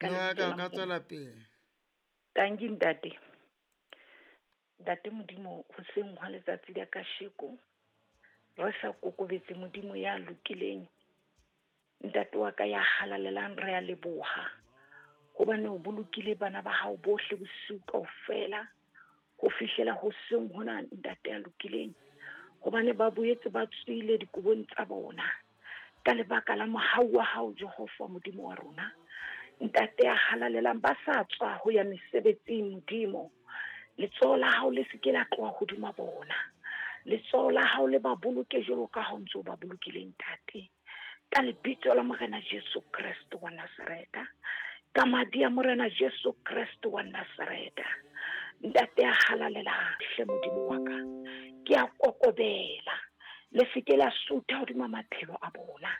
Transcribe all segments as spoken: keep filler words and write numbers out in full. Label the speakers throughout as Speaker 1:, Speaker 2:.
Speaker 1: Ka
Speaker 2: Mme wa
Speaker 1: lebitso
Speaker 2: ka o
Speaker 1: la
Speaker 2: ka
Speaker 1: Morena.
Speaker 2: tswela pele.
Speaker 1: Tanki ntate. Ntate Modimo, hoseng hwa letsatsi la kasheko, re sa kokobetse Modimo ya lokileng. Ntate wa ka ya halalelang, re a leboha. Hobane o bolokile bana ba hao bohle bosiu kaofela ho fihlela hoseng hona, ntate ya lokileng. Hobane ba boetse ba tswile dikobong tsa bona ka lebaka la mohau wa hao, Jehova Modimo wa rona. Ntate ya halalelang, ba sa tswa ho ya mesebetsing, Modimo. Letsoho la hao le se ke la tloha hodima bona. Letsoho la hao le ba boloke jwalo ka ha o ntso ba bolokile, ntate. Ka lebitso la Morena Jesu Kreste wa Nazareta. Ka madi a Morena Jesu Kreste wa Nazareta. Ntate ya halalelang, hle Modimo wa ka, ke a kokobela. Le se ke la sutha hodima maphelo a bona.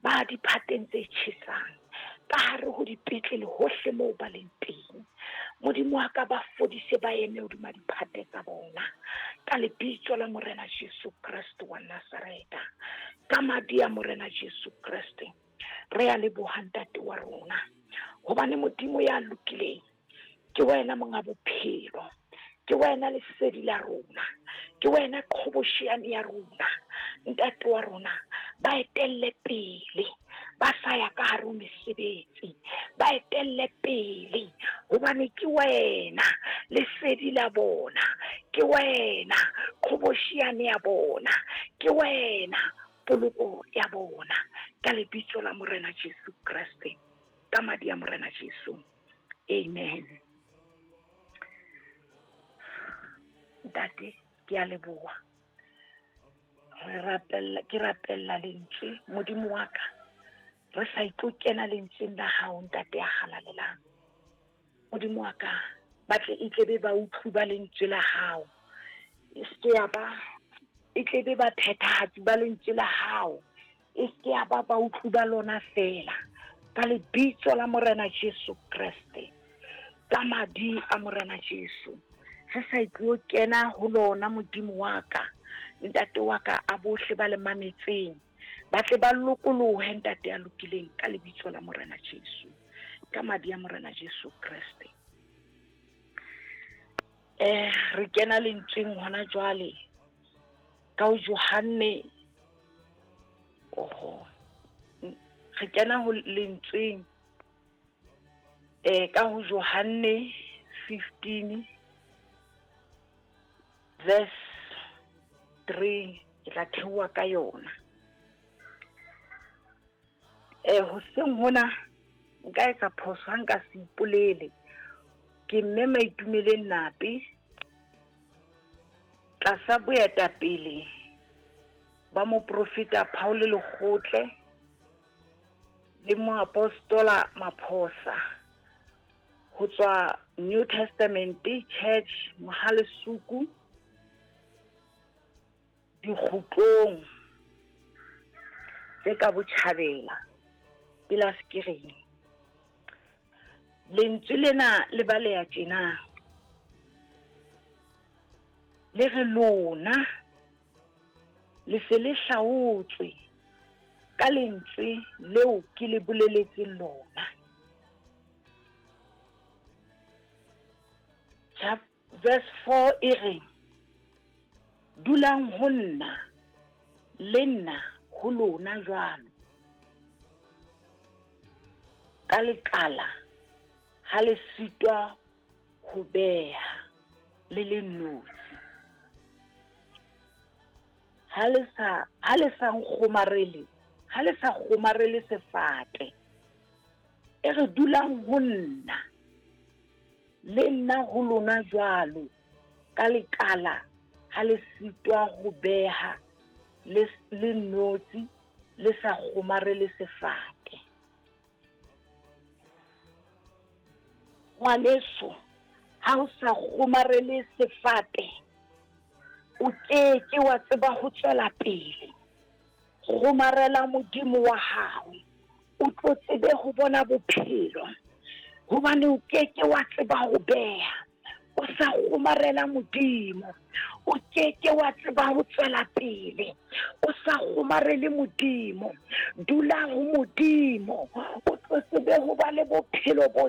Speaker 1: Ba diphateng tse tjhesang, ka hare ho dipetlele hohle moo ba leng teng. Modimo wa ka, ba fodise, ba eme hodima diphate tsa bona. Ka lebitso la Morena Jesu Kreste wa Nazareta. Ka madi a Morena Jesu Kreste. Re a leboha ntate wa rona. Hobane Modimo ya lokileng, ke wena monga bophelo. Ke wena lesedi la rona. Ke wena qhobosheane ya rona. Ntate wa rona, ba etelle pele. Ba sa ya ka hare ho mesebetsi. Ba etelle pele. Hobane ke wena lesedi la bona. Ke wena qhobosheane ya bona. Ke wena poloko ya bona. Ka lebitso la Morena Jesu Kreste. Ka madi a Morena Jesu. Amen. Ntate, ke a leboha. Re rapella, ke rapella lentswe, Modimo wa ka. Re sa itlo kena lentsweng la hao, ntate ya halalelang. Modimo wa ka, ba tle e tle be ba utlwi ba lentswe la hao. E se ke ya ba, e tle be ba phethahatsi ba lentswe la hao. E se ke ya ba ba utlwi ba lona feela. Ka lebitso la Morena Jesu Kreste. Ka madi a Morena Jesu. Re sa itlo kena ho lona, Modimo wa ka. Ntate wa ka, a bohle ba le mametseng. Ba tle ba lokolohe, ntate ya lokileng, ka lebitso la Morena Jesu. Ka madi a Morena Jesu Kreste. Eh, re kena lentsweng hona jwale. Ka ho Johanne. Oho. Re kena ho lentsweng. Eh, ka ho Johanne fifteen verse three, ke tla theoha ka yona. Eh, hoseng hona nka etsa phoso ha nka se ipolele. Ke mme Maitumeleng Nape, tlasa boetapele ba moprofeta Paul Lekgotle le moapostola Maphosa ho tswa New Testament Church Mohalesuku dikgutlong tse ka botjhabela pela Skereng. Lentswe lena le baleha tjena. Le re lona le se le hlaotswe ka lentswe leo ke le boleletseng lona. Chap verse four e re, dulang ho nna, le nna ho lona jwalo. Ka lekala ha le sitwa ho beha le le nnotshi. Ha le sa, ha le sa nkgomarele, ha le sa kgomarele sefate. E re dulang ho nna, le nna ho lona jwalo. Ka lekala ha le sitwa ho beha le, le nnotshi, le sa kgomarele sefate. Ngwaneso, ha o sa kgomarele sefate, o ke ke wa tseba ho tswela pele. Kgomarela Modimo wa hao, o tlo tsebe ho bona bophelo. Hobane o ke ke wa tseba ho beha, O sa kgomarela Modimo, o keke wa tseba ho tswela pele. O sa kgomarele Modimo, dula ho Modimo, o tlo tsebe ho ba le bophelo bo